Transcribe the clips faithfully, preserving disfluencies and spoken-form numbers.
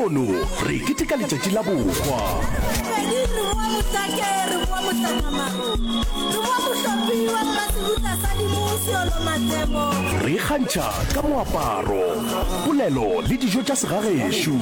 Lehono re keteka letšatši la bohwa. Pedi re boa Mohlake, re boa Mohlakamaru, re boa Mohlopi wa Mmasebutla sa Dimo Seolo Matlemo. Re ikgantšha ka moaparo, polelo le dijo tša segagešo.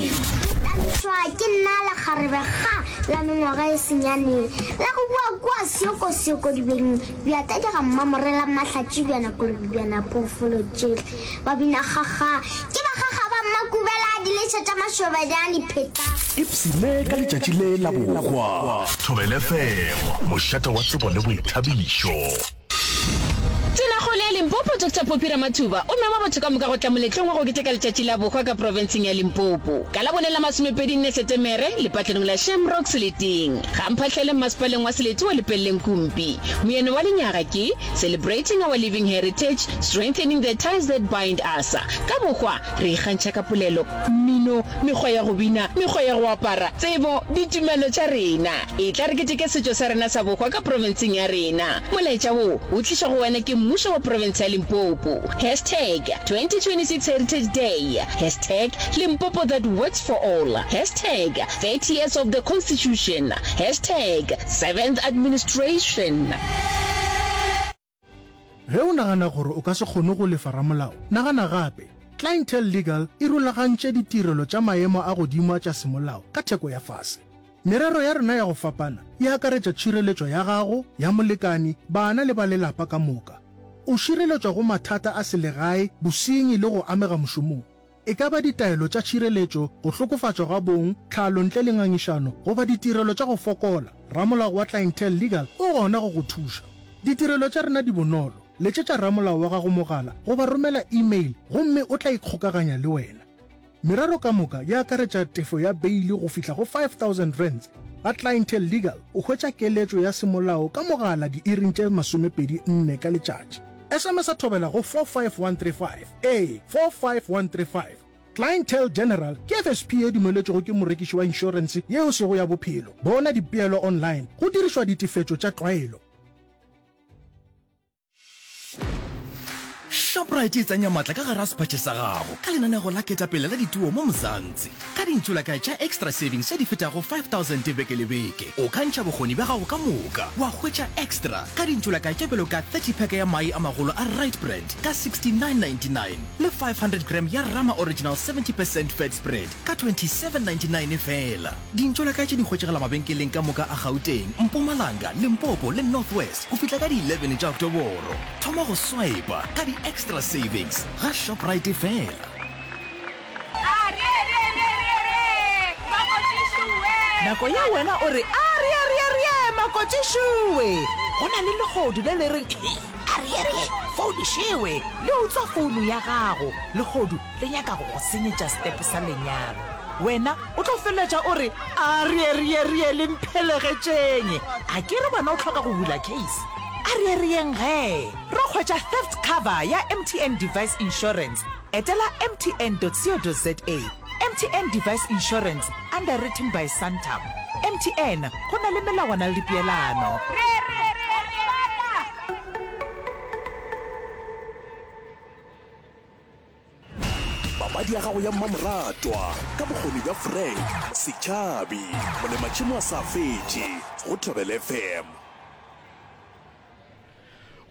Thabišwa ke nna lekgarebe ga la mengwaga e senyane la go boa kua Seokosoko dibeng bja tadi ga Mmamorela Mahlatši bjana kolobe bjana phoofolo tšele ba bina gaga ke ba gaga ba Mmakubela diletšha tša mašobana dipheta. Ipshine ka letšatši le la bohwa. Thobela F M, mošate wa tsebo le boithabišo. Tonakgolo ya Limpopo Doctor Phophi Ramathuba o mema batho ka moka go tla moletlong wa go keteka letšatši la bohwa ka profenseng ya Limpopo ka Labone la masomepedi nne Setemere lepatlelong la Shamrock Seleteng ga Mphahlele mmasepaleng wa Selete wa Lepelleng Kumpi. Moyeno wa lenyaga ke Celebrating Our Living Heritage, Strengthening the Ties That Bind Us. Ka bohwa re ikgantšha ka polelo, mmino, mekgwa ya go bina, mekgwa ya go apara, tsebo, ditumelo tša rena. E tla re keteke setšo sa rena sa bohwa ka profenseng ya rena. Molaetša wo o tlišwa go wena ke mmušo wa profense ya Limpopo. Hashtag twenty twenty-six Heritage Day. Hashtag Limpopo that works for all. Hashtag thirty years of the Constitution. Hashtag seventh administration. Ge o nagana gore o ka se kgone go lefa ramolao, nagana gape. Clientele Legal e rulagantše ditirelo tša maemo a godimo tša semolao ka theko ya fase. Merero ya rena ya go fapana e akaretša tšhireletšo ya gago, ya molekani, bana le ba lelapa ka moka. O šireletšwa go mathata a selegae, bosenyi le go amega mošomong. E ka ba ditaelo tša tšhireletšo, go hlokofatšwa ga bong, tlhalo ntle le ngangišano, goba ditirelo tša go fokola, ramolao wa Clientele Legal o gona go go thuša. Ditirelo tša rena di bonolo. Letšetša ramolao wa gago mogala goba romela email gomme o tla ikgokaganya le wena. Merero ka moka e akaretša tefo ya beile go fihla go five thousand rands. Ga Clientele Legal o hwetša keletšo ya semolao ka mogala diiring tše masomepedi nne ka letšatši. S M S a thobela go four five one three five. Ee, four five one three five. Clientele General ke F S P ye dumeletšwego ke morekiši wa inšorense yeo sego ya bophelo. Bona dipeelo online go dirišwa ditefetšo tša tlwaelo. Shoprite e tsenya matla ka gare ga sephatše sa gago ka lenanego la ketapele la dituo mo Mzansi. Ka dintšolakae tša Extra Savings tše di fetago five thousand beke le beke, o ka ntšha bokgoni bja gago ka moka wa hwetša extra ka dintšolakae tše bjalo ka thirty pack ya mae a magolo a Right Brand ka sixty-nine ninety-nine le five hundred gram ya Rama Original seventy percent fat spread ka twenty-seven ninety-nine fela. Dintšolakae tše di hwetšagala mabenkeleng ka moka a Gauteng, Mpumalanga, Limpopo le North West go fihla ka di eleven tša Oktoboro. Thoma go swipa ka di-extra savings ga Shoprite fela. Nako ye wena o re, Arieerierie, makotšišowe! Go na le lehodu le le reng, Arierie, founišewe! Le utswa founu ya gago. Lehodu le nyaka go go senyetša setepe sa lenyalo. Wena o tlo feleletša o re, Arieerierie, le mphelegetšeng! A ke re wena o hloka go bula case? Arierieng ge! Ro hwetša theft cover ya M T N Device Insurance. Etela M T N dot co dot Z A. M T N Device Insurance, underwritten by Santam. M T N, go na le melawana le dipeelano. Papadi ya gago ya mmamoratwa ka bokgoni bja Frank Setšhabi, molematšhemo a sa fetše go Thobela F M.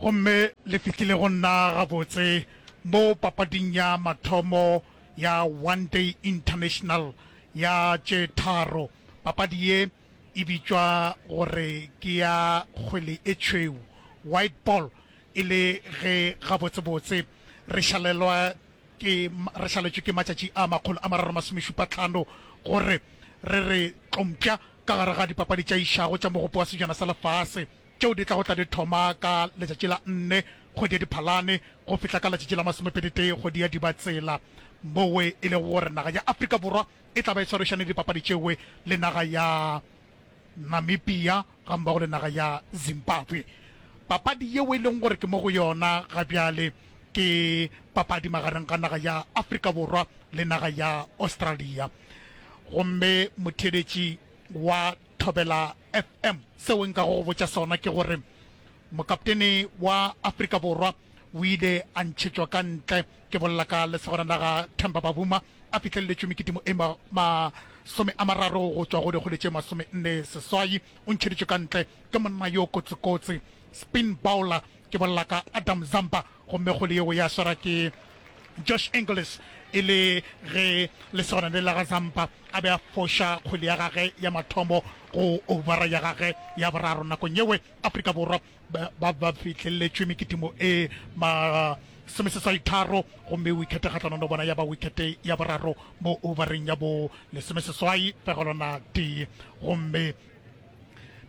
Gomme le fihlile go nna gabotse mo papading ya mathomo ya One Day International ya tše tharo. Papadi ye e bitšwa gore ke ya kgwele e tšhweu, white ball, e le ge gabotsebotse re šalelwa ke, re šaletšwe ke matšatši a makgolo a mararo masomešupa tlhano gore re re tlompša ka gare ga dipapadi tša išago tša Mogopo wa Sejana sa Lefase tšeo di tlago tla di thoma ka letšatši la nne kgwedi ya Diphalane go fihla ka letšatši la masomepedi tee kgwedi ya Dibatsela, mowe e lego gore naga ya Afrika Borwa e tla ba e swarišane dipapadi tšewe le naga ya Namibia gammogo le naga ya Zimbabwe. Papadi yeo e leng gore ke mo go yona ga bjale ke papadi magareng ga naga ya Afrika Borwa le naga ya Australia. Gomme motheeletši wa Thobela F M, seo nka go go botša sona ke gore mokaptene wa Afrika Borwa o ile a ntšhetšwa ka ntle. Ke bolela ka lesogana la ga Themba Bavuma a fihleletšwe mekitimo e masome a mararo go tšwa go dikgwele tše masome nne seswai. O ntšheditšwe ka ntle ke monna yo kotsikotsi, spin bowler, ke bolela ka Adam Zampa, gomme kgwele yeo ya swara ke Josh Inglis e le ge lesogana le la ga Zampa a be a foša kgwele ya gage ya mathomo go ovara ya gage ya boraro. Nakong yewe Afrika Borwa ba ba fihleletšwe mekitimo e masomeseswai tharo, gomme wikete kgahlanong le bona ya ba wikete ya boraro mo overeng ya bo lesomeseswai fegelwana tee. Gomme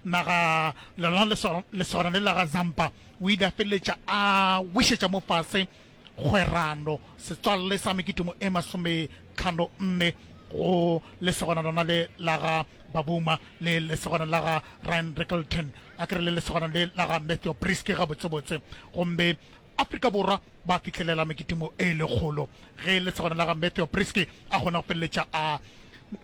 naga lona lesogana le la ga Zampa o ile a feleletša a wišetša mo fase kgwerano setswalle sa mekitimo e masometlhano nne go lesogana lona le la ga Babuma le lesogana la ga Ryan Rickelton, a kere le lesogana le la ga Matthew Breetzke gabotsebotse. Gomme Afrika Borwa ba fihlelela mekitimo e lekgolo ge lesogana la ga Matthew Breetzke a kgona go feleletša a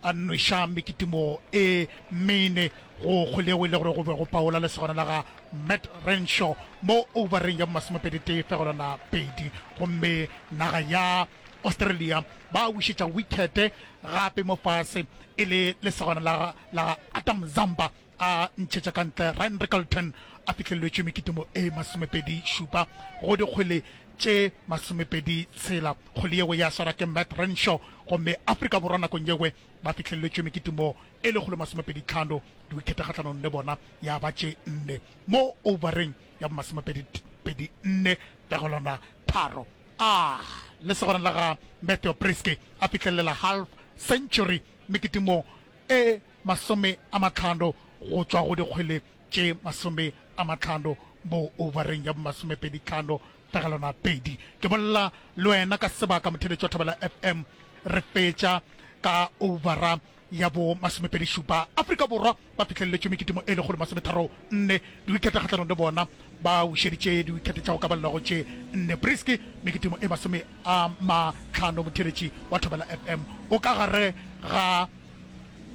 a nweša mekitimo e mene go kgwele yeo e le gore go be go paola lesogana la ga Matt Renshaw mo overeng ya masomepedi tee fegelwana pedi. Gomme naga ya Australia ba wišetša wikete gape mo fase e le lesogana la la ga Adam Zampa a ntšhetša ka ntle Ryan Rickelton a fihlelletšwe mekitimo e masomepedi šupa go dikgwele tše masomepedi tshela. Kgwele yeo ya swara ke Matt Renshaw, gomme Afrika Borwa nakong yewe ba fihlelletšwe mekitimo e lekgolo masomepedi tlhano, diwikete kgahlanong le bona ya ba tše nne mo overeng ya masomepedi pedi nne fegelwana tharo. A lesogana la ga Matthew Breetzke a fihlelela half century mekitimo e masome a matlhano go tšwa go dikgwele tše masome a matlhano mo overeng ya masomepedi tlhano fegelwana pedi. Ke bolela le wena ka sebaka motheletši wa Thobela F M, re fetša ka overa ya bo masomepedi šupa. Afrika Borwa ba fihleletšwe mekitimo e lekgolo masometharo nne, diwikete kgahlanong le bona ba wišeditše diwikete tša go ka balelwago tše nne. Breetzke mekitimo e masome a matlhano. Motheletši wa Thobela F M o ka gare ga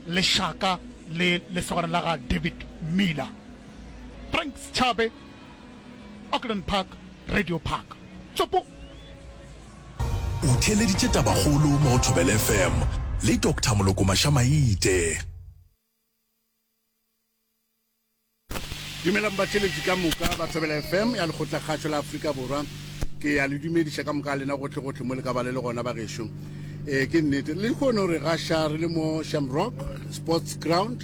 lešaka le lesogana la ga David Miller. Frank Schabe, Auckland Park, Radio Park. Tsopo! O theeleditše Tabakgolo mo go Thobela F M le Doctor Moloko Mašamaite. Dumelang batheeletši ka moka ba Thobela F M ya Lekgotlakgašo la Afrika Borwa. Ke a le dumediša ka moka ga lena gohlegohle mo le ka ba le le gona bagešo. Ee, ke nnete, le kgone re gaša re le mo Shamrock Sports Ground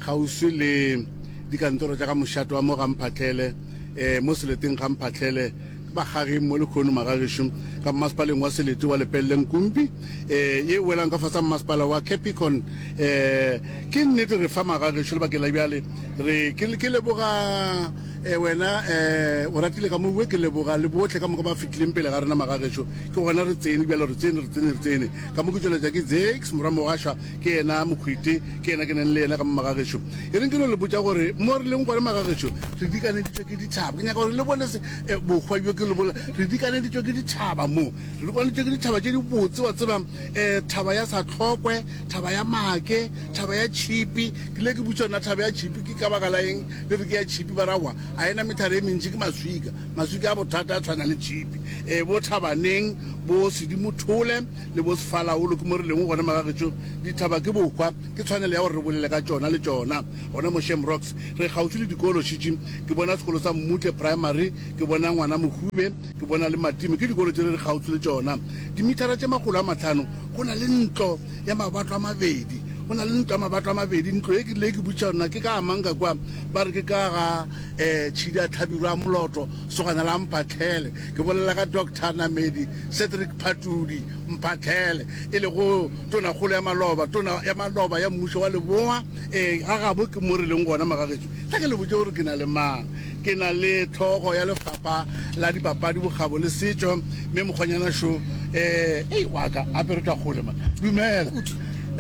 kgauswi le dikantoro tša ga mošate wa mo ga Mphahlele, eh, mo seleteng ga Mphahlele, ke bagageng mo lekgono magagešo ka mmasepaleng wa selete wa Lepelle Nkumpi, eh, ye e welang ka fase ga mmasepala wa Capricorn. Eh, ke nnete re fa magagešo lebakeng la bjale. Re, ke, ke leboga, eh, wena, eh, o ratile ka mowe, ke leboga le bohle ka moka ba fetileng pele ga rena magagešo. Ke gona re tsene bjalo, re tsene, re tsene, re tsene. Ka mo ke tšweletša ke Zakes morwa Mogašwa, ke yena mokhwiti, ke yena ke nang le yena ka mo magagešo. E reng ke no le botša gore mo re leng gona magagešo, re dikaneditšwe ke dithaba. Ke nyaka gore le bone se, eh, bohwa bjo ke le bolela. Re dikaneditšwe ke dithaba mo. Re dikaneditšwe ke dithaba tše dibotse, wa tseba, eh, thaba ya Satlhokwe, thaba ya Make, thaba ya Tšhipi. Ke ile ke botša nna thaba ya Tšhipi ke ka baka la eng le re ke ya tšhipi, ba ra wa a ena methare e mentši ke maswika, maswika a bothata a tshwana le tšhipi. E, bo Thabaneng, bo Sedimothole le bo Sefalaolo ke mo re leng gona magagetšo. Dithaba ke bohwa, ke tshwanelo ya gore re bolele ka tšona le tšona. Gona mo Shamrocks re kgauswi le dikolo šitši, ke bona sekolo sa Mmutle Primary, ke bona Ngwana Mohube, ke bona le Matime, ke dikolo tše re re kgauswi le tšona. Dimithara tše makgolo a mahlano go na le ntlo ya mabato a mabedi. Go na le ntlo ya mabato a mabedi. Ntlo ye ke rile ke botšiša gore na ke ka ga mang ka kwa, ba re ke ka ga um Tšhidi a Hlabirwa a Moloto, sogana la Mphahlele. Ke bolela ka Doctor Namedi Cedric Phatudi Mphahlele, e lego Tonakgolo ya maloba, Tona ya maloba ya Mmušo wa Leboa. Ee, ga gabo ke mo re leng gona, magagetšo. Tla ke le botše gore ke na le mang. Ke na le hlogo ya lefapha la dipapadi, bokgabo le setšo, mme mokgonyana šo. Eh, ei, wa ka, gape re tšwa kgole man. Dumela. Kudu.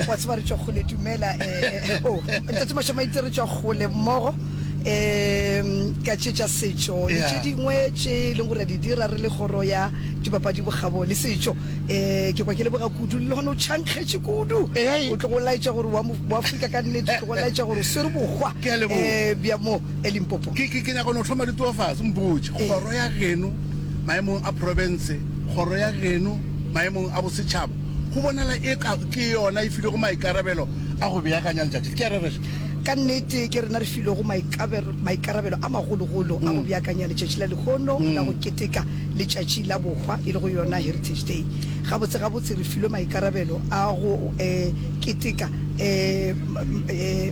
Wa tseba re tšwa kgole, dumela. Eh, oh, Ntate Mashamaite, re tšwa kgole mmogo. Um ka tše tša setšo le tše dingwe tše e leng gore di dira re le kgoro ya dipapadi, bokgabo le setšo. Um ke kwa ke leboga kudu le gona o tšhankgetše kudu, o tlogo laetša gore wa Afrika ka nnete, o tlogo laetša gore o swere bohwa um bja mo Limpopo. Ke ke nyaka no thoma ditofase, mpotše kgoro ya geno maemong a profense, kgoro ya geno maemong a bosetšhaba, go bonala eka ke yona e filwego maikarabelo a go beakanya letšatši le. Ke a rereša? Ka nnete, ke rena re filwego maikarabelo a magologolo a go beakanya letšatši la lehono la go keteka Letšatši la Bohwa, e lego yona Heritage Day. Gabotse-gabotse re filwe maikarabelo a go keteka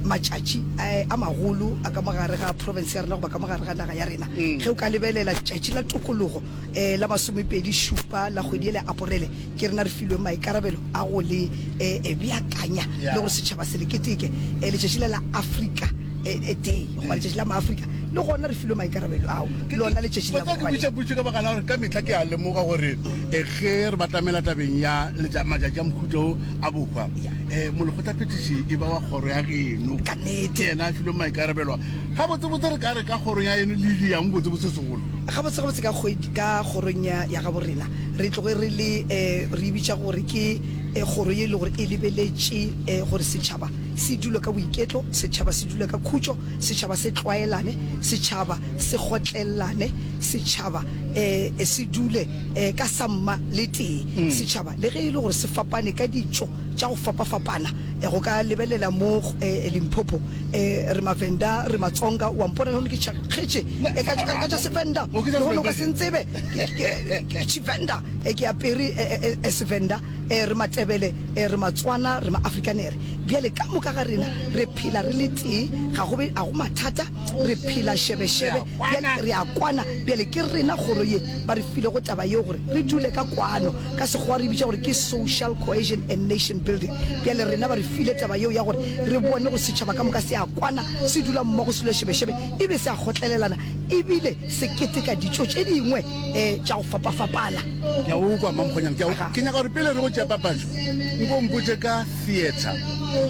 matšatši a magolo a ka mo gare ga profense ya rena goba ka mo gare ga naga ya rena. Ge o ka lebelela Letšatši la Tokologo la masomepedi šupa la kgwedi yela ya Aporele, ke rena re filweng maikarabelo a go le beakanya le gore setšhaba se le keteke. Letšatši la la Afrika Day goba Letšatši la Maafrika le gona re filwe maikarabelo ao, lona letšatši la Ke botša potšo ka baka la gore ka mehla ke a lemoga gore ge re batamela tabeng ya matšatši a mohuta wo a bohwa, um molekgotlaphethiši e ba wa kgoro ya geno. Ka nnete. Ke yena a filweng maikarabelo a. Gabotsebotse re ka re ka kgorong ya eno le diang botsebotse segolo? Gabotsegabotse ka kgwedi, ka kgorong ya, ya gabo rena re tloge re le, um re e bitša gore ke kgoro ye e le gore e lebeletše gore setšhaba se dule ka boiketlo, setšhaba se dule ka khutšo, setšhaba se tlwaelane, setšhaba se kgotlelelane, setšhaba um se dule um ka samma le tee. Setšhaba le ge e le gore se fapane ka ditšo tša go fapafapana, go ka lebelela mo Limpopo, re Mavenda, re Matsonga, wa mpona lehono ke tšhakgetše ka, ka tša Sevenda, lehono o ka se ntsebe, ke Tshivenda, ke apere Sevenda, re Matebele, re Matswana, re Maafrikanere. Bjale ka moka ga rena re phela re le tee, ga go be, ga go mathata, re phela šebešebe, bjale re a kwana. Bjale ke rena kgoro ye ba re filego taba yeo gore re dule ka kwano, ka Sekgowa re e bitša gore ke social cohesion and nation building. Bjale rena ba re file taba yeo ya gore re bone gore setšhaba ka moka se a kwana, se dula mmogo, se dula šebešebe, e be se a kgotlelelana e bile se keteka ditšo tše dingwe tša go fapafapana. Ke a go kwa, Mmamokgonyana, ke a go kwa. Ke nyaka gore pele re go tšea papatšo, nko o mpotše ka theatre.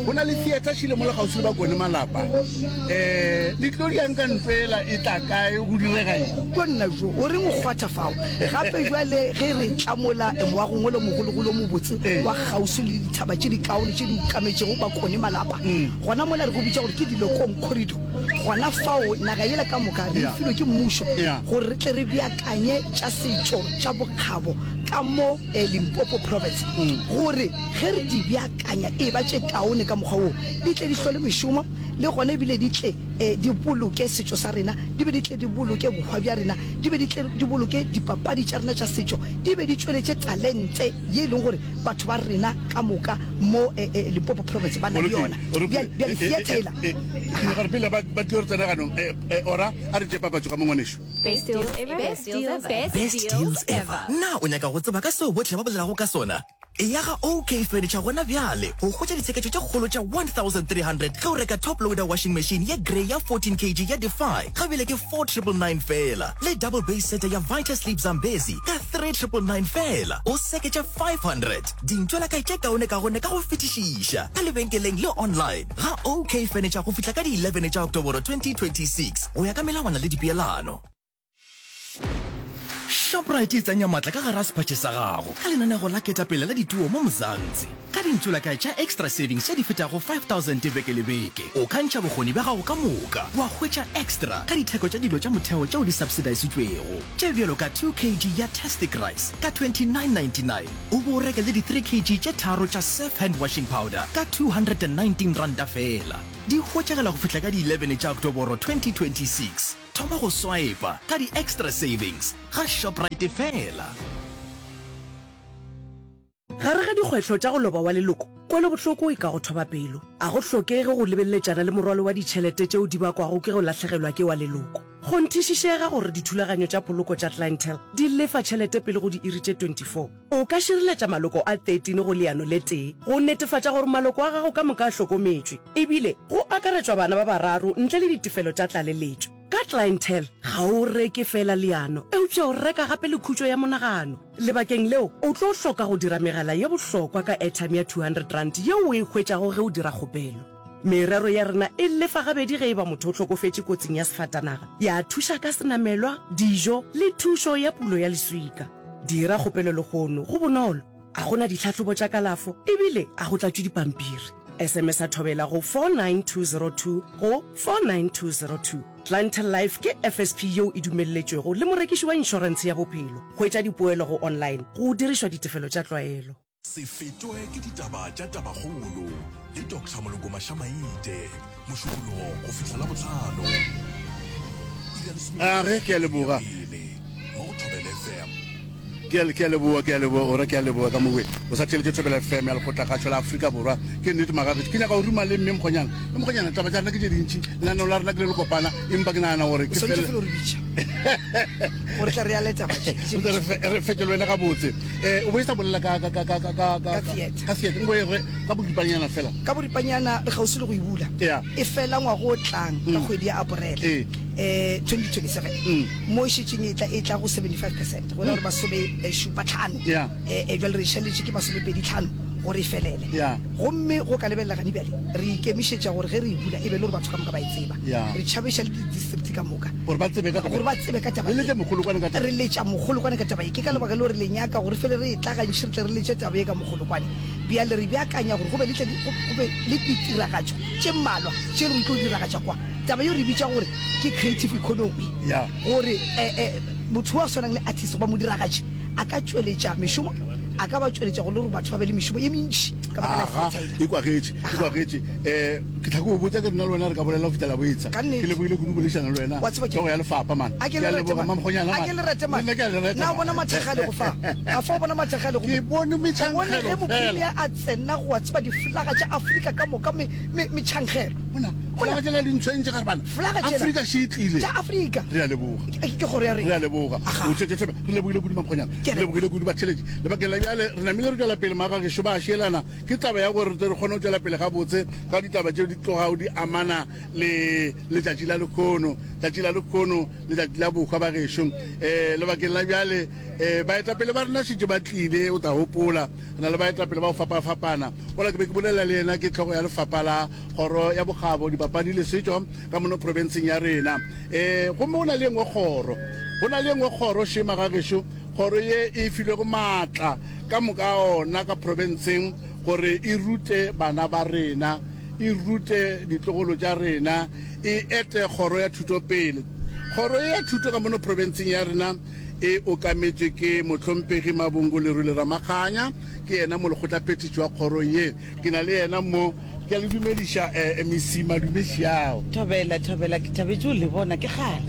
Go na le theatre šile mola kgauswi le Bakone Malapa. Um le tlo diang ka ntlo ela e tla kae, go direga eng? Ko nna jo, o reng o kgwatha fao? Gape bjale ge re tla mola moagong wola o mogologolo o mobotse wa kgauswi le dithaba tše dikaone tše di ukametšego Bakone Malapa, gona mola re go bitša gore ke Dilokong Corridor. Gona fao naga yela ka moka re e filwe ke mmušo gore re tle re beakanye tša setšo tša bokgabo ka mo Limpopo Province, gore ge re di beakanya e ba tše kaone ka mokgwa woo di tle di hlole mešomo le gona ebile di tle di boloke setšo sa rena, di be di tle di boloke bohwa bja rena, di be di tle di boloke dipapadi tša rena tša setšo, di be di tšweletše talente ye e leng gore batho ba rena ka moka mo Limpopo Province ba na le yona. Bjale, bjale theatre yela. Ke nyaka gore pele ba ba tlo re tsena ganong, Ora, a re tšee papatšo ka mo ngwanešu. Best deals ever. Best deals ever. Best deals ever. Na o nyaka go tseba ka seo bohle ba bolelago ka sona? Eya ga OK Furniture gona bjale go hwetša ditsheketšo tše kgolo tša one thousand three hundred ge o reka top loader washing machine ye grey ya fourteen kg ya Defy ga bjale ke four triple nine feela le double base seta ya Vita Sleep Zambezi ka three triple nine feela. O seketša five hundred dintšwelakae tše kaonekaone ka go fetišiša ka lebenkeleng le online ga OK Furniture go fihla ka di eleven tša Oktoboro twenty twenty six go ya ka melawana le dipeelano. Shoprite e tsenya matla ka gare ga sephatše sa gago ka lenanego la ketapele la dituo mo Mzansi. Ka dintšolakae tša Extra Savings tše di fetago five thousand beke le beke, o ka ntšha bokgoni bja gago ka moka wa hwetša extra ka ditheko tša dilo tša motheo tšeo di subsidisitšwego, tše bjalo ka two kg ya Tastic Rice ka twenty nine ninety nine o bo o reke le di three kg tše tharo tša Surf Hand Washing Powder ka two hundred and nineteen ranta feela. Di hwetšagala go fihla ka di eleven tša Oktoboro twenty twenty six. Thoma go swipa ka di extra savings ga Shoprite feela. Gare ga dikgwetlho tša go loba wa leloko, kwelobohloko e ka go thoba pelo. A go hlokege go lebeleletšana le morwalo wa ditšhelete tšeo di bakwago ke go lahlegelwa ke wa leloko. Kgonthišišega gore dithulaganyo tša poloko tša Clientele di lefa tšhelete pele go diiri tše twenty four. O ka šireletša maloko a thirteen go leano le tee go netefatša gore maloko a gago ka moka a hlokometšwe, e bile go akaretšwa bana ba bararo ntle le ditefelo tša tlaleletšo. Ka Clientele, ga o reke feela leano, eupša o reka gape le khutšo ya monagano. Lebakeng leo, o tlo hloka go dira megala ye bohlokwa ka airtime ya two hundred rand yeo o e hwetšago ge o dira kgopelo. Merero ya rena e lefa gabedi ge e ba motho o hlokofetše kotsing ya sefatanaga, ya thuša ka senamelwa, dijo le thušo ya pulo ya leswika. Dira kgopelo lehono, go bonolo, a go na ditlhahlobo tša kalafo e bile a go tlatšwe dipampiri. S M S-a Thobela go four nine two zero two go four nine two zero two. Clientele Life ke F S P yeo e dumelletšwego le morekiši wa inšorentshe ya bophelo. Hwetša dipoelo go online go dirišwa ditefelo tša tlwaelo. Se fetwe ke ditaba tša Tabakgolo le Doctor Moloko Mašamaite, Mošupologo go fihla Labohlano, iri ya lesome A ge, ke a leboga. pele mo go Thobela F M. Ke a, ke a leboga, ke a leboga, ora ke a leboga ka mowe. O sa theeletše Thobela F M ya Lekgotlakgašo la Afrika Borwa. Ke nnete magagešo. Ke nyaka go ruma le mme Mokgonyana. Mme Mokgonyana, taba tša rena ke tše dintši. Lenaneo la rena ke le lekopana, empa ke nagana gore O ke swanetše fele. fela o re bitša gore tla re ya le taba tše. Re tle re fe, re fetše le wena gabotse. Eh, o bo e sa bolela ka, ka, ka, ka, ka, ka, Ka theatre. Ka theatre. Nko e re ka boripanyana fela. Ka boripanyana re kgauswi le go e bula. Yeah. E fela ngwaga o tlang ka kgwedi ya Aporele. Ee. Eh, twenty twenty-seven. Mo e šetšeng e tla e tla go seventy-five percent. Go ra gore masome eh, šupa tlhano. Yeah. Eh, eh, jwale re šaletše ke masomepedi tlhano gore e felele. Yeah. Gomme go ka lebelela gane bjale re ikemišetša gore ge re e bula e be le gore batho ka moka ba e tseba. Yeah. Re tšhabeša le di-district ka moka. Gore ba tsebe ka taba. Gore ba tsebe ka taba Le letše ye. mogolokwane ka taba. Re letša mogolokwane ka taba ye. Ke ka lebaka le gore le nyaka gore fele re e tla gantši re tle re letše taba ye ka mogolokwane. Bjale re beakanya gore go be le tle di- go go be le ditiragatšo tše mmalwa tše re tlo diragatša kwa. Taba yeo re bitša gore ke creative economy. Yeah. Gore, eh, eh, motho wa swanang le artist goba modiragatši a ka tšweletša mešomo, a ka ba tšweletša go le gore batho ba be le mešomo ye mentši ka baka la Aga, theatre. e kwagetše, e kwagetše. Um ke tlhako go botsa ke rena le wena re ka bolela go fihlela boetsa. Ka nnete. Ke lebogile kudu boledišana le wena. Wa tseba ke- Hlogo ya lefapha man. A ke Ke a le rate leboga, man. Mamokgonyana, A man. ke le rate man. Le nna ke a le rata, Na o man. bona mathakgale go fa? A fa o bona mathakgale go Ke bone O bone ge metšhankgelo fela. mopremier a tsena go wa tseba diflaga tša Afrika ka moka me, me, metšhankgelo. Bona, flaga tšela di ntshwentše gare bana. Flaga tšela. Afrika še e tlile. Tša Afrika. Re a leboga. Ke, ke kgoro ya Re rena. a leboga. Aga. O tšwetše tsebe. Re lebogile kudu Mamokgonyana. Ke a Re lebogile kudu batheeletši. Lebakeng la bjale re namile re tšwela pele magagešo ba a šielana. Ke taba ya gore re tle re kgone go tšwela pele gabotse ka ditaba tšeo di tlogago di amana le letšatši la lekhono. Tšatši la lekhono, letšatši la bohwa bagešo. Eh, lebakeng la bjale, eh, baetapele ba rena šetše ba tlile, o tla gopola. Re na le baetapele ba go fapafapana. Ola ke be ke bolela le yena, ke hlogo ya lefapha la kgoro ya bokgabo, dipapadi le setšo ka mono profenseng ya rena. Eh, gomme go na le engwe kgoro. Go na le engwe kgoro še magagešo, kgoro ye e filwego maatla ka moka ona ka profenseng gore e rute bana ba rena, e rute ditlogolo tša rena, e ete kgoro ya thuto pele. Kgoro ye ya thuto ka mono profenseng ya rena e okametšwe ke mohlomphegi Mabongo Lerule Ramakganya, ke yena molekgotlaphethiši wa kgoro ye. Ke na le yena mo, ke a le dumediša, eh, M E C Madume Šiao. Thobela, thobela, ke thabetše go le bona, ke kgale.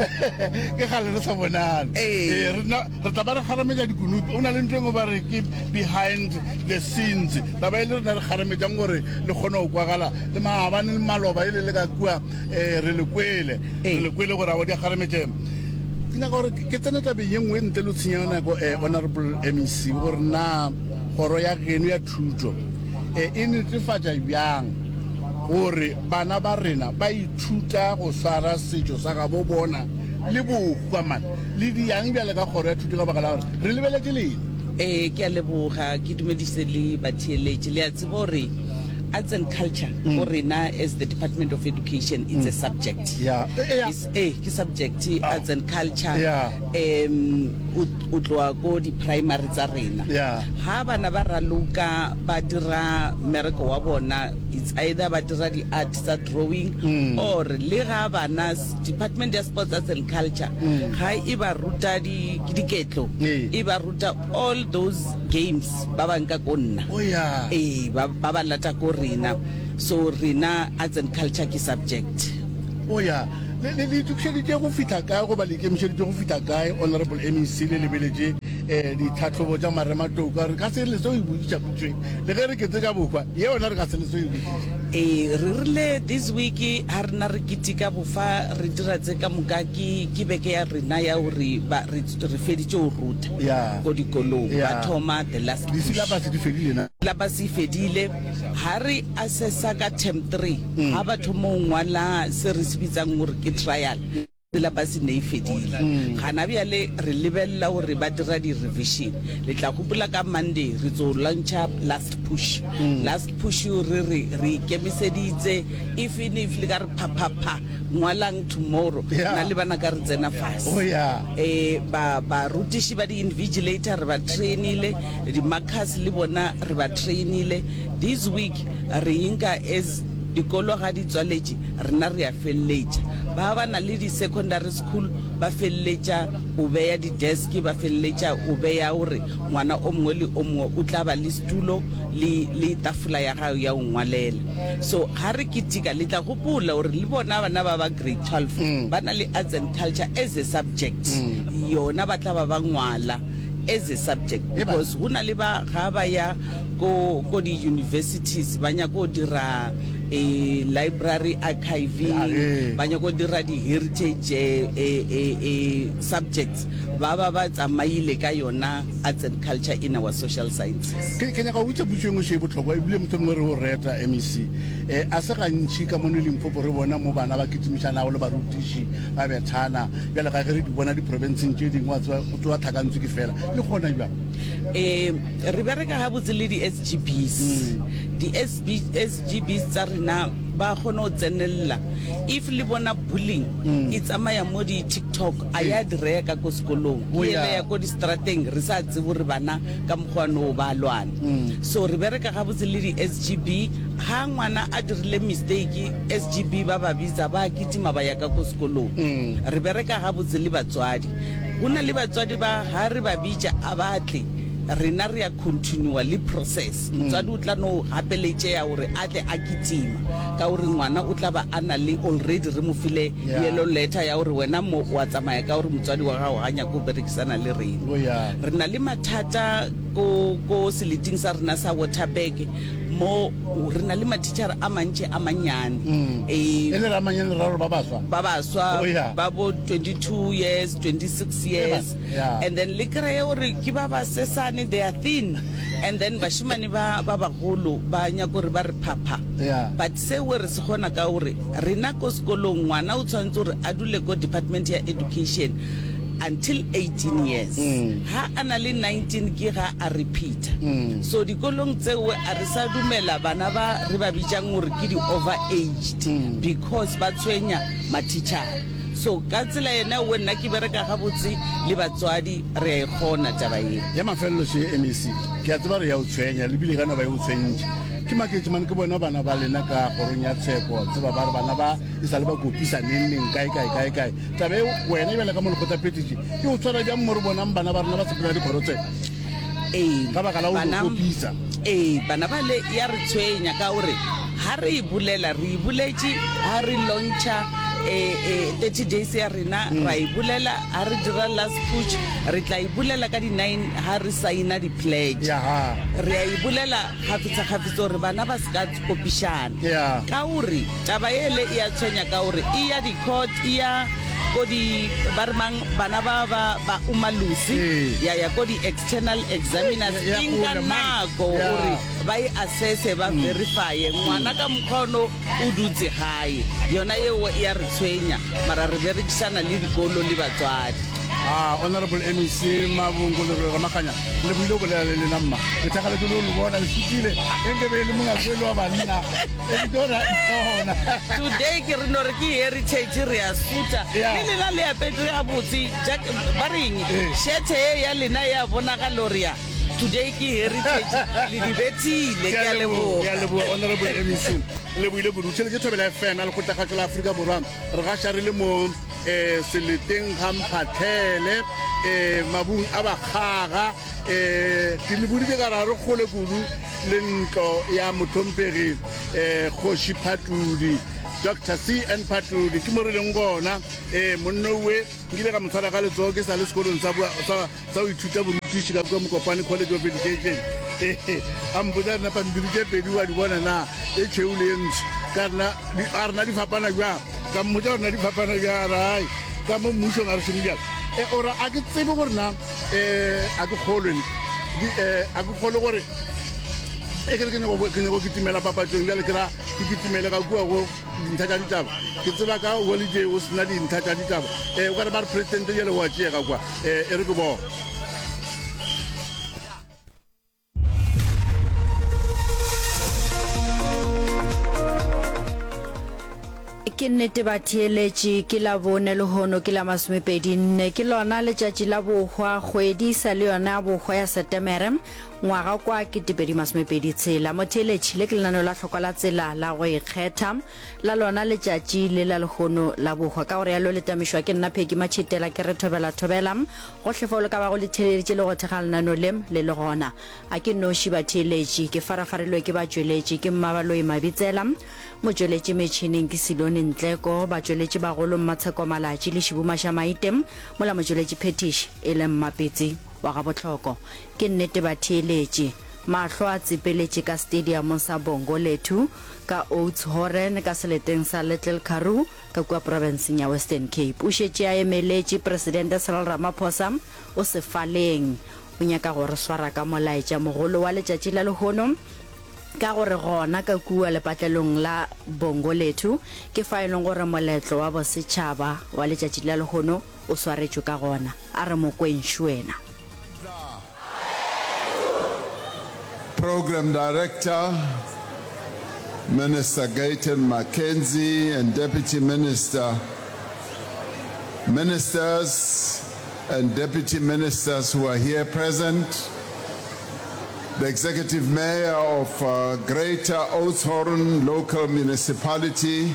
Ke kgale re sa bonane. Ee. Ee, re na, re tla ba re kgarametša dikunupi. O na le ntho e nngwe ba re ke behind the scenes. Taba e le rena re kgarametšang gore le kgone go kwagala. Le maabane le maloba e le le ka kua, eh, re le kwele. Re le kwele gore a wa di a kgarametšeng. Ke nyaka gore ke tsene tabeng ye nngwe ntle le ho tshenya nako, eh, Honorable M E C, gore na kgoro ya geno ya thuto, eh, e netefatša bjang gore bana ba rena ba ithuta go swara setšo sa gabo bona le bohwa man le diang bjale ka kgoro ya thuto ka baka la gore re lebeletše lena. Ee, ke a leboga, ke dumedise le batheeletši. Le a tseba gore arts and culture go rena as the Department of Education, it's a subject. Yeah. Eh, yeah. It's, eh, ke subject, arts and culture. Yeah. Um, o, o tloa ko di-primary tsa rena. Yeah. Ha bana ba raloka ba dira mmereko wa bona, it's either ba dira di-art tsa drawing Mm. or le ga bana Department ya Sports, Arts and Culture Mm. ga e ba ruta di- diketlo, Ee. e ba ruta all those games ba banka ko nna. Oh, yeah. Ee, ba ba ba lata ko rena. So rena arts and culture ke subject. Oh ya, le le le itokišeditše go fihla kae goba le ikemišeditše go fihla kae, Honorable M E C, le lebeletše um ditlhahlobo tša marematlou ka re ka se le se o e botšiša potšoe le ge re ketse ka bohwa ye yona re ka se le se o e botšiša. Ee, re rile this week ha rena re keteka bofa re dira tse ka moka, ke ke beke ya rena ya gore ba re re feditše go ruta Yeah. ko dikolong. Yeah. Ba thoma the last push. Disilabase di fedile na? Syllabus e fedile. Ha re assessa ka term three, ha ba thoma go ngwala se re se bitsang gore ke trial. Syllabus ne e fedile. Gana bjale re lebelela gore ba dira di-revision. Le tla gopola ka Monday re tso launcha last push. Last push re re re ikemiseditse even if le ka re pha pha pha ngwalang tomorrow Yeah. nna le bana ka re tsena fase. Oh, yeah. Eh ba barutiši ba di-invigilator re ba trainile, di-markers le bona re ba trainile. This week re inka as dikolo ga di tswaletše rena re a feleletša. Ba ba na le di-secondary school ba feleletša o beya di-desk, ba feleletša o beya gore ngwana o mongwe le o mongwe o tla ba le setulo le, le tafola ya gago ya go ngwalela. So ga re ketika le tla gopola gore le bona bana ba ba grade twelve ba na le arts and culture as a subject, yona ba tla ba ba ngwala as a subject because go na le ba ga ba ya ko ko di-universities ba nyaka go dira eh, library archiving, ba nyaka go dira di-heritage eh, eh, eh, eh, subjects, ba ba ba tsamaile ka yona arts and culture in our social sciences. Ke ke nyaka go botša potšo e nngwe še e bohlokwa ebile motho mongwe re o reta M E C. um a se gantši ka mono Limpopo re bona mo bana ba kitimišanago le barutiši ba bethana bjale ga ge re di bona diprofenseng tše dingwe, wa tseba go tsoa tlhakantswe ke fela le gona bjang? um re bereka gabotse le di-S G Bs. Di-S G Bs tsa rena ba kgone go tsenelela. If le bona bullying e tsamaya mo di-TikTok, a ya direya ka ko sekolong, Oh, ke yeah. ele ya ko di-strateng, re sa tsebe gore bana ka mokgwa no ba lwana. So re bereka gabotse le di-S G B. Ga ngwana a dirile mistake, S G B ba ba bitsa, ba kitima ba ya ka ko sekolong. Re bereka gabotse le batswadi. Go na le batswadi ba ga re ba bitša a batle, rena re ya continua le process. Motswadi o tla no gapeletšea gore a tle a kitima ka gore ngwana o tla ba a na le already re mo file Yeah. yellow letter ya gore wena mo wa tsamaya ka gore motswadi wa gago ga nyake go berekisana le rena. Oh, yeah. Re na le mathata ko ko seleting sa rena sa Waterberg mo re na le mathichara a mantši a mannyane. Eh, e le ramanyane le raro ba baswa. Ba baswa. Oh, yeah. Ba bo twenty-two years, twenty-six years. Yeah. And then le kreye gore ke ba ba sesane, they are thin, and then bashimane ba ba bagolo ba nyaka gore ba re phapha. Yeah. But seo re se kgona ka gore rena ko sekolong ngwana o tshwanetse gore a dule ko department ya education until eighteen years. Ha a na le nineteen ke ga a repeata. So dikolong tseo a re sa dumela bana ba re ba bitsang gore ke di-over aged because ba tshwenya mathichara. So ka tsela yena o nna ke bereka gabotse le batswadi, re a e kgona taba ye. Ya mafelelo še M E C, ke a tseba re ya o tshwenya lebile ka no ba e o tshwentše. Ke maketse mane ke bona bana ba lena ka kgorong ya tsheko, tseba ba re bana ba e sa le ba kopisa neng neng kae kae kae kae. Taba e wena ebjale ka molekgotlaphethiši e o tshwara bjang mo re bonang bana ba rena ba sepela dikgoro tse Ee, ka baka la go bana- kopisa? Ee, bana ba le ya re tshwenya ka gore ha re e bolela, re e boletše ha re launcha eh, eh, thirty days ya rena, ra e bolela ha re dira last push, re tla e bolela ka di-nine ha re signa di-pledge. Yaha. Re a e bolela kgafetsa-kgafetsa gore bana ba se ka kopišana Yeah. ka gore taba ele e a tshwenya ka gore e ya di-court, e ya ko di ba re mang bana ba ba ba umalusi, Ee. ya ya ko di-external examiners, Ya e nka kgole, man. nako Yeah. gore ba e assesse, ba verifye ngwana ka mokgwa ono o dutse gae. Yona eo e ya re tshwenya, mara re berekišana le dikolo le batswadi. Ah, honorable M E C Mabungo le Ramaganya, le buile go bolela le lena mma, ke thakgaletse le le bona le sutile e nke be e le mongakwe wa banna e tora ona. Today ke re no re ke heritage, re a suta Yeah. le lena le apetse gabotse. Jack- ba reng, Eh. shete e ya lena ya bonagalo re ya today ke heritage, le di bethile. Ke a leboga. Ke a leboga honorable M E C, le buile kudu. Tšhelete Thobela F M ya lekgotlakgatšo la Aforika Borwa, re gaša re le mo um seleteng ga Mphatlhele, um mabung a bakgaga. um ke le boditse ka ra re kgole kudu le ntlo ya motlhomphegi um Kgoši Phatlodi, Doctor C N Phatlodi, ke mo re leng gona. um monnowe nkile ka mo tshwara ka letsogo ke sa le sekolong sa bua- sa sa go ithuta borutiši ka kua Mokopane College of Education. Ee, a mpotsa rena pampiri tše pedi wa di bona na, e tšhweu le e ntsho, ka rena di- a rena di fapana bjang? Ka mmotsa rena di fapana bjang, rai ka mo mmušong a re šome bjang. E ora a ke tsebe gore na um a ke kgolwe ne. Di- eh, a ke kgolwe gore E ke re ke nyako ke nyako kitimela papatšong bjale ke ra ke kitimele ka kua go dintlha tša ditaba. Ke tseba ka holiday o sena dintlha tša ditaba. Eh o ka re ba re president bjale wa tšeega kwa. Eh e re ke bona. Ke nnete batheeletši, ke Labone lehono ke la masomepedi nne, ke lona letšatši la bohwa, kgwedi e sa le yona ya bohwa ya Setemere, ngwaga kwa ketepedi masomepedi tshela. Motheeletši, le ke lenaneo la hlokwa la tsela la go ikgetha la lona letšatši le la lehono la bohwa. Ka go realo le tamišwa ke nna Peggy Matšhitela, ke re thobela thobela gohle fao le ka bago le theeleditše le go thekga lenaneo le le le gona. A ke noši batheeletši, ke farafarilwe ke batšweletši, ke Mmabaloi Mabitsela, Motšweletši metšhineng ke Silone Ntleko, batšweletši bagolo Mmatsheko Malatši le Šibu Mašamaite, mola motšweletši phethiši e le Mmapetsi wa ga Bohloko. Ke nnete batheeletši, mahlo a tsepeletše ka stadiamong sa Bongolethu ka Oudtshoorn ka seleteng sa Little Karoo ka kua profenseng ya Western Cape. O šetše a emeletše Presidente Cyril Ramaphosa o sefaleng. O nyaka go re swara ka molaetša mogolo wa letšatši la lehono. Ka gore gona ka kua lepatlelong la Bongolethu ke fa e leng gore moletlo wa bosetšhaba wa letšatši la lehono o swaretšwe ka gona. A re mo kweng šuena. Program Director, Minister Gayton McKenzie and Deputy Minister, Ministers and Deputy Ministers who are here present, the Executive Mayor of uh, Greater Oudtshoorn Local Municipality,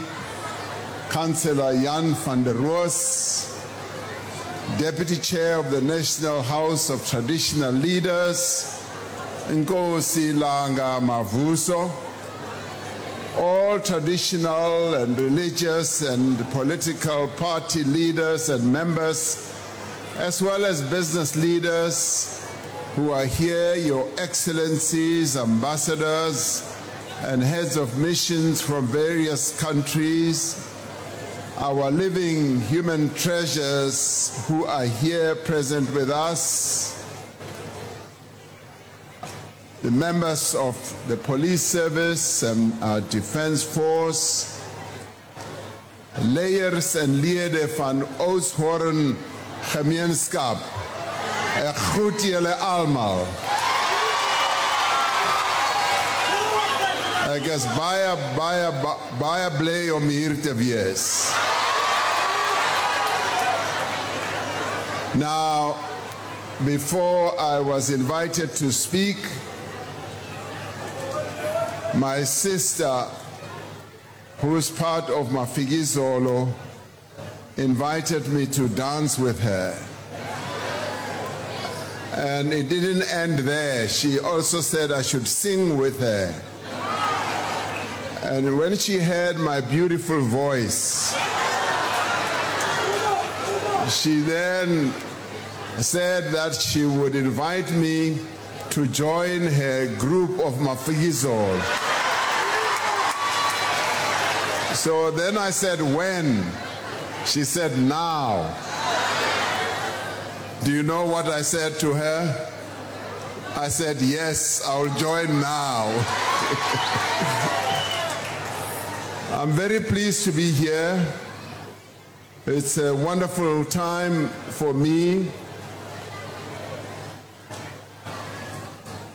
Councillor Jan van der Roos, Deputy Chair of the National House of Traditional Leaders, Nkosi Langa Mavuso, all traditional and religious and political party leaders and members, as well as business leaders who are here, Your Excellencies, ambassadors, and heads of missions from various countries, our living human treasures who are here present with us, the members of the police service and our defense force, Leiers en lede van Oudtshoorn Gemeenskap, ek groet julle almal. Ek is baie baie baie bly om hier te wees. Now, before I was invited to speak, my sister who's part of Mafikizolo, invited me to dance with her. And it didn't end there. She also said I should sing with her. And when she heard my beautiful voice, she then said that she would invite me to join her group of Mafikizolo. So then I said, when? She said, now. Do you know what I said to her? I said, yes, I'll join now. I'm very pleased to be here. It's a wonderful time for me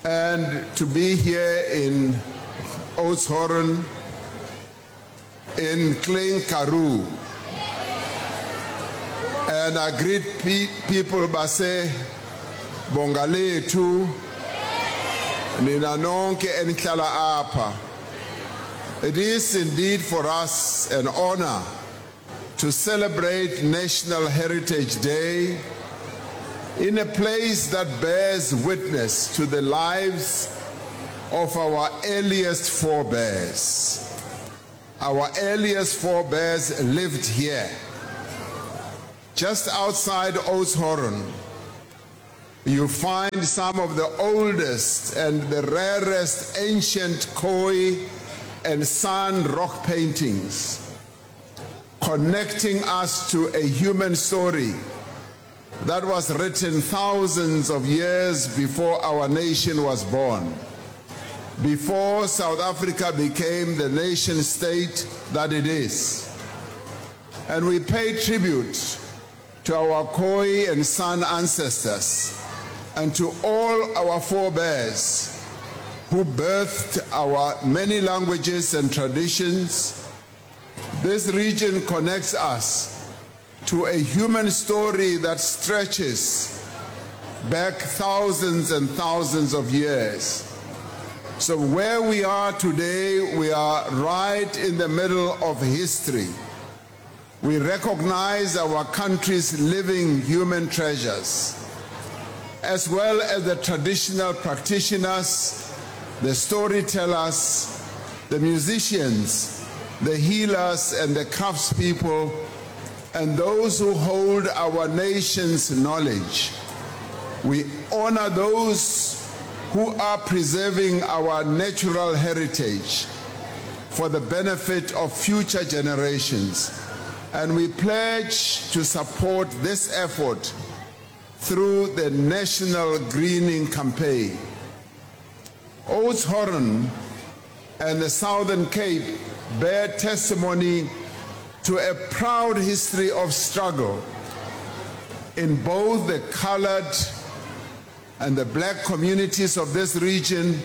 and to be here in Oudtshoorn in Klein Karoo. And I greet pe people base Bongalethu nina nonke enihlala apha. It is indeed for us an honor to celebrate National Heritage Day in a place that bears witness to the lives of our earliest forebears. Our earliest forebears lived here, just outside Oudtshoorn. You find some of the oldest and the rarest ancient Khoi and San rock paintings, connecting us to a human story that was written thousands of years before our nation was born. before South Africa became the nation state that it is. And we pay tribute to our Khoi and San ancestors and to all our forebears who birthed our many languages and traditions. This region connects us to a human story that stretches back thousands and thousands of years. So where we are today, we are right in the middle of history. We recognize our country's living human treasures, as well as the traditional practitioners, the storytellers, the musicians, the healers and the craftspeople, and those who hold our nation's knowledge. We honor those who are preserving our natural heritage for the benefit of future generations, and we pledge to support this effort through the National Greening Campaign. Oudtshoorn and the Southern Cape bear testimony to a proud history of struggle in both the colored and the black communities of this region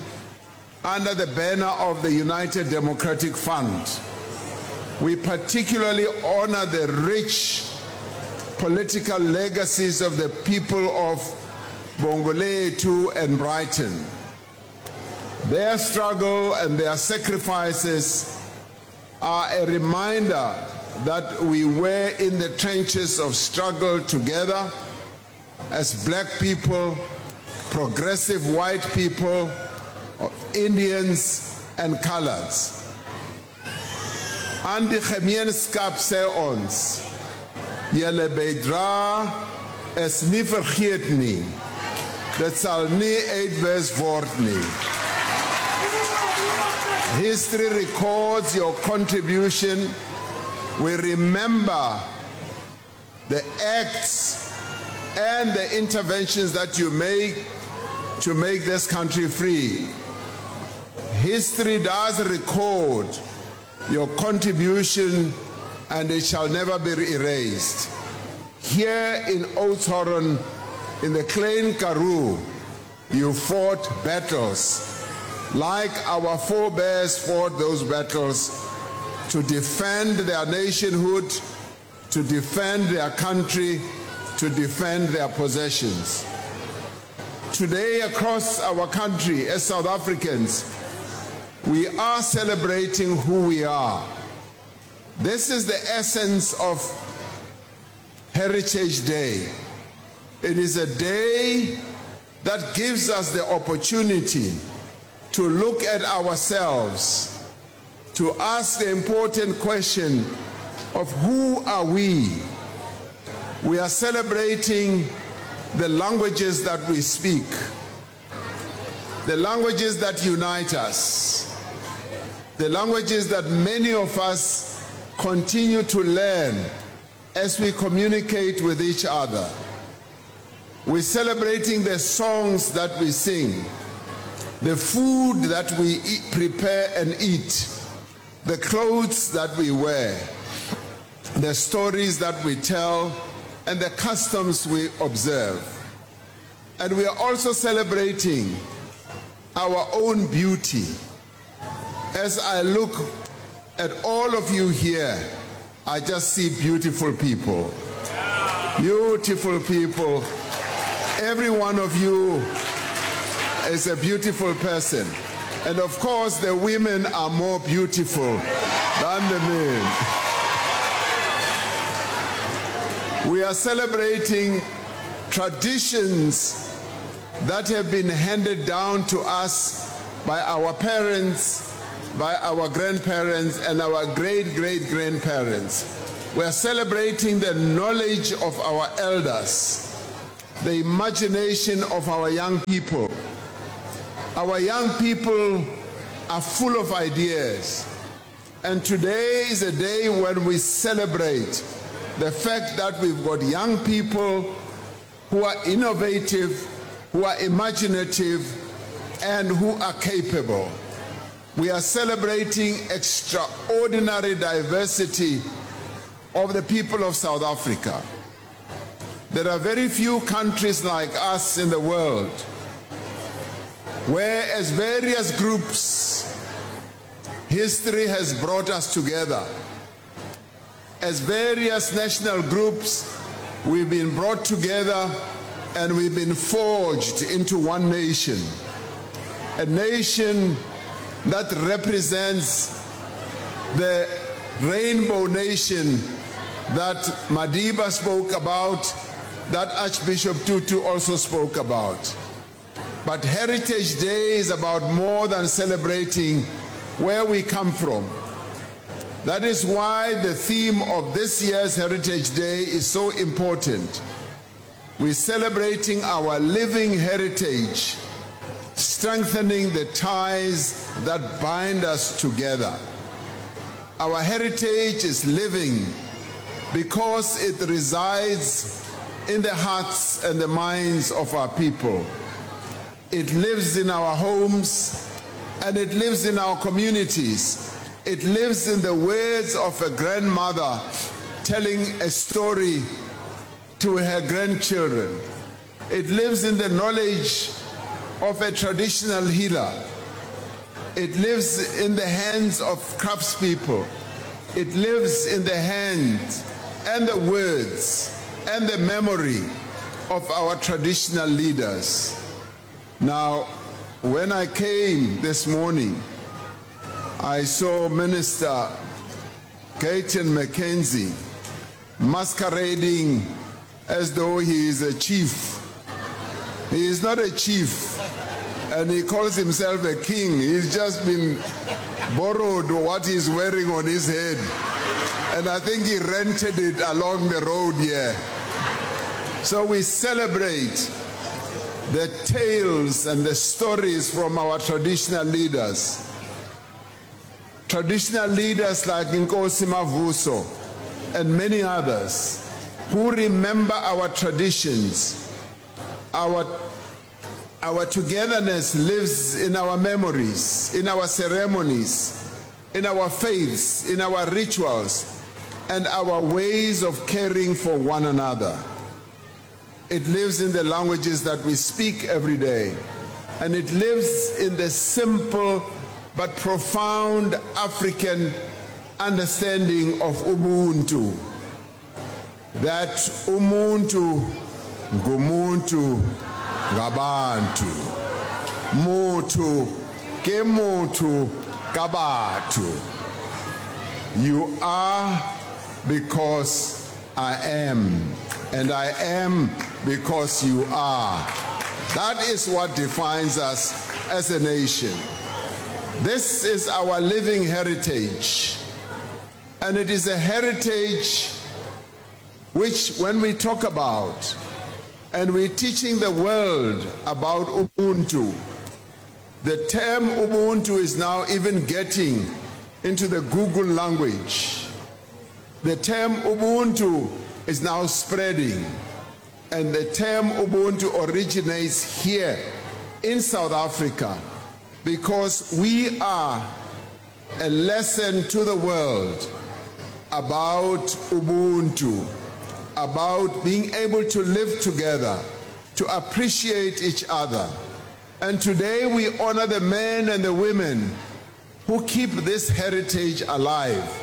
under the banner of the United Democratic Fund. We particularly honor the rich political legacies of the people of Bongolethu and Brighton. Their struggle and their sacrifices are a reminder that we were in the trenches of struggle together as black people, progressive white people, Indians and coloreds. Aan die gemeenskap sê ons, julle bydrae is nie vergeet nie. Dit sal nie uitwis word nie. History records your contribution. We remember the acts and the interventions that you make to make this country free. History does record your contribution and it shall never be erased. Here in Oudtshoorn, in the Klein Karoo, you fought battles like our forebears fought those battles to defend their nationhood, to defend their country, to defend their possessions. Today, across our country as South Africans, we are celebrating who we are. This is the essence of Heritage Day. It is a day that gives us the opportunity to look at ourselves, to ask the important question of who are we? We are celebrating the languages that we speak, the languages that unite us, the languages that many of us continue to learn as we communicate with each other. We're celebrating the songs that we sing, the food that we eat, prepare and eat, the clothes that we wear, the stories that we tell, and the customs we observe. And we are also celebrating our own beauty. As I look at all of you here, I just see beautiful people. Beautiful people. Every one of you is a beautiful person. And of course, the women are more beautiful than the men. We are celebrating traditions that have been handed down to us by our parents, by our grandparents, and our great great grandparents. We are celebrating the knowledge of our elders, the imagination of our young people. Our young people are full of ideas. And today is a day when we celebrate the fact that we've got young people who are innovative, who are imaginative, and who are capable. We are celebrating extraordinary diversity of the people of South Africa. There are very few countries like us in the world where as various groups history has brought us together. As various national groups, we've been brought together and we've been forged into one nation. A nation that represents the rainbow nation that Madiba spoke about, that Archbishop Tutu also spoke about. But Heritage Day is about more than celebrating where we come from. That is why the theme of this year's Heritage Day is so important. We're celebrating our living heritage, strengthening the ties that bind us together. Our heritage is living because it resides in the hearts and the minds of our people. It lives in our homes and it lives in our communities. It lives in the words of a grandmother telling a story to her grandchildren. It lives in the knowledge of a traditional healer. It lives in the hands of craftspeople. It lives in the hands and the words and the memory of our traditional leaders. Now, when I came this morning, I saw Minister Gayton McKenzie masquerading as though he is a chief. He is not a chief, and he calls himself a king. He's just been borrowed what he's wearing on his head. And I think he rented it along the road here. So we celebrate the tales and the stories from our traditional leaders. Traditional leaders like Inkosi Mavuso and many others who remember our traditions. Our, our togetherness lives in our memories, in our ceremonies, in our faiths, in our rituals, and our ways of caring for one another. It lives in the languages that we speak every day. And it lives in the simple but profound African understanding of Ubuntu. That umuntu ngumuntu ngabantu. Motho ke motho ka batho. You are because I am, and I am because you are. That is what defines us as a nation. This is our living heritage. And it is a heritage which, when we talk about and we're teaching the world about Ubuntu, the term Ubuntu is now even getting into the Google language. The term Ubuntu is now spreading. And the term Ubuntu originates here in South Africa because we are a lesson to the world about Ubuntu, about being able to live together, to appreciate each other. And today we honor the men and the women who keep this heritage alive.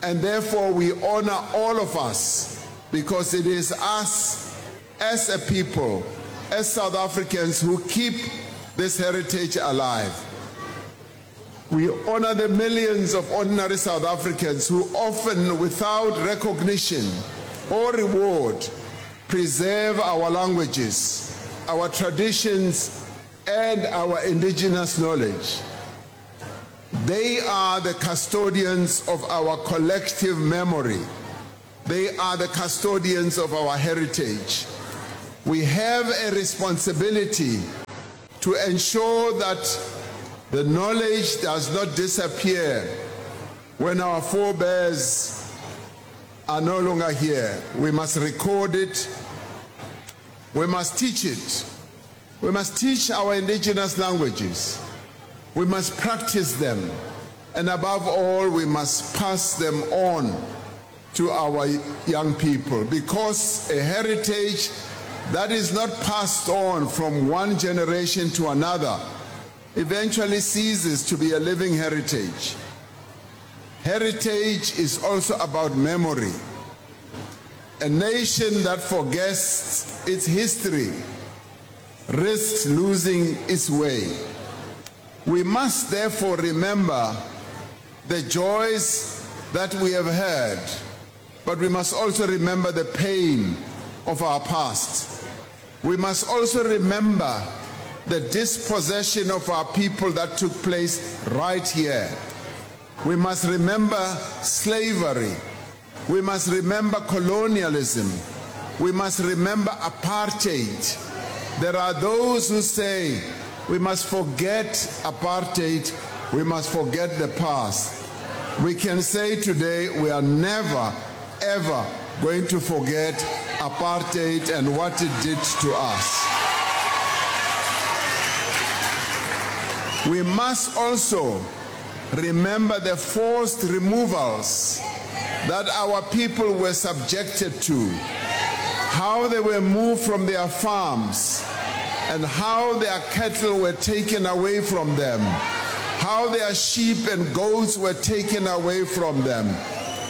And therefore we honor all of us because it is us as a people, as South Africans who keep this heritage alive. We honor the millions of ordinary South Africans who often, without recognition or reward, preserve our languages, our traditions, and our indigenous knowledge. They are the custodians of our collective memory. They are the custodians of our heritage. We have a responsibility to ensure that the knowledge does not disappear when our forebears are no longer here. We must record it. We must teach it. We must teach our indigenous languages. We must practice them. And above all, we must pass them on to our young people because a heritage that is not passed on from one generation to another eventually ceases to be a living heritage. Heritage is also about memory. A nation that forgets its history risks losing its way. We must therefore remember the joys that we have had, but we must also remember the pain of our past. We must also remember the dispossession of our people that took place right here. We must remember slavery. We must remember colonialism. We must remember apartheid. There are those who say we must forget apartheid, we must forget the past. We can say today we are never, ever going to forget apartheid and what it did to us. We must also remember the forced removals that our people were subjected to, how they were moved from their farms, and how their cattle were taken away from them, how their sheep and goats were taken away from them.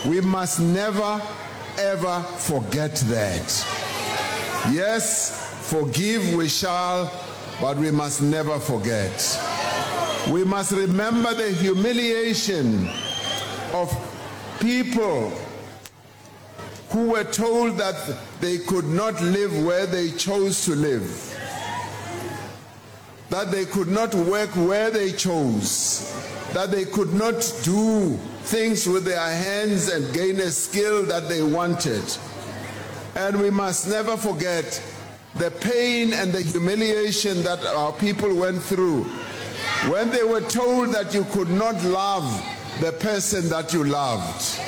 We must never, ever forget that. Yes, forgive we shall, but we must never forget. We must remember the humiliation of people who were told that they could not live where they chose to live, that they could not work where they chose, that they could not do things with their hands and gain a skill that they wanted. And we must never forget the pain and the humiliation that our people went through when they were told that you could not love the person that you loved.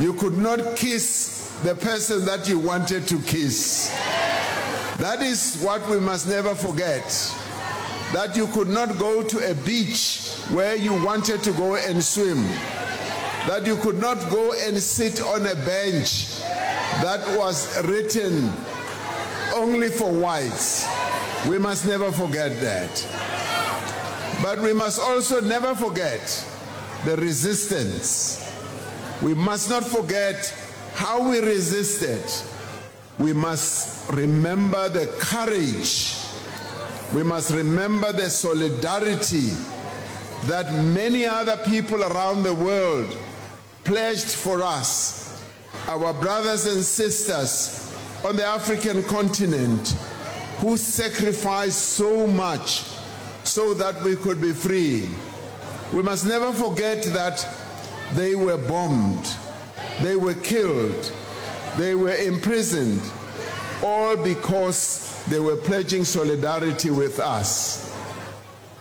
You could not kiss the person that you wanted to kiss. That is what we must never forget. That you could not go to a beach where you wanted to go and swim. That you could not go and sit on a bench that was written only for whites. We must never forget that. But we must also never forget the resistance. We must not forget how we resisted. We must remember the courage. We must remember the solidarity that many other people around the world pledged for us, our brothers and sisters on the African continent who sacrificed so much so that we could be free. We must never forget that they were bombed, they were killed, they were imprisoned, all because they were pledging solidarity with us.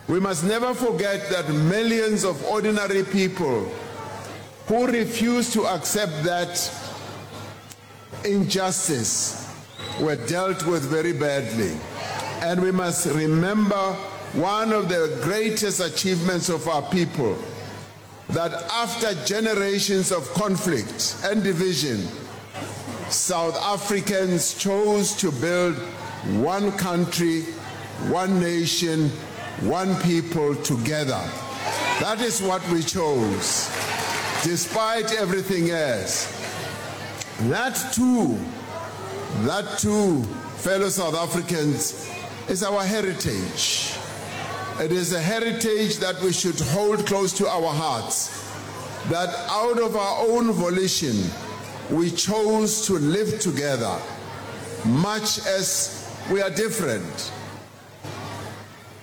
We must never forget that millions of ordinary people who refused to accept that injustice were dealt with very badly. And we must remember one of the greatest achievements of our people that after generations of conflict and division, South Africans chose to build one country, one nation, one people together. That is what we chose, despite everything else. That too, that too, fellow South Africans, is our heritage. It is a heritage that we should hold close to our hearts, that out of our own volition, we chose to live together, much as we are different.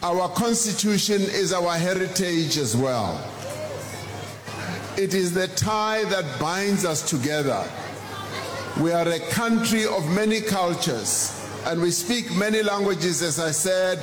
Our constitution is our heritage as well. It is the tie that binds us together. We are a country of many cultures and we speak many languages, as I said,